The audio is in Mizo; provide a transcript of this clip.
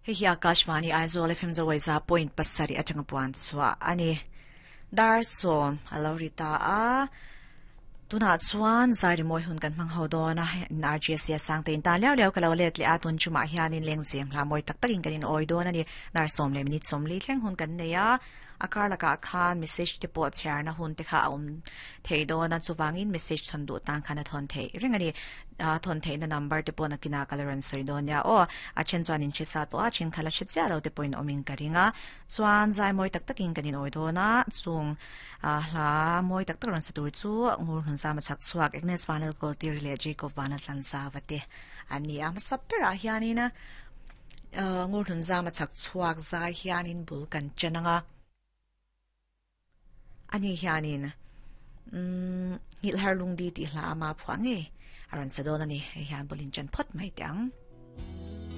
Hei hi Akashvani Aizawl FM Zawaiza point pasarih atanga puan chhuah a ni. Dar sawm a lo ri ta a. Tunah chuan zai rimawi hun kan hmang ho dawn a, in RGSC a sang te in tan liau liau ka lo let leh a, tun chumah hianin lengzem hla mawi tak takin kan in awi dawn a ni. Dar sawm leh minute sawmli thleng hun kan nei a. A kar lakah khan message te pawh chhiarna hun te kha a awm thei dawn a, chuvangin message thawn duh tan khan a thawn theih reng a ni. A thawn theihna number te pawh nakinah ka la rawn sawi dawn nia aw. A then chuan in hre sa tawh a, then kha la hre chiah lo te pawhin awmin ka ring a. Chuan zai mawi tak takin kan inawi dawn a, chung hla mawi tak tak rawn sa tur chu Ngur Hlunzama chhak chhuak Agnes Vanlalkawltiri leh Jacob Vanlaltlanzava te an ni a. Hmasa berah hianin Ngur Hlunzama chhak chhuak zai hianin bul kan chen ang a. Ani hianin Nghilhar Lungdi tih hla ama phuah ngei a rawn sa dawn a ni. Hei hian bul in chen phawt mai teh ang.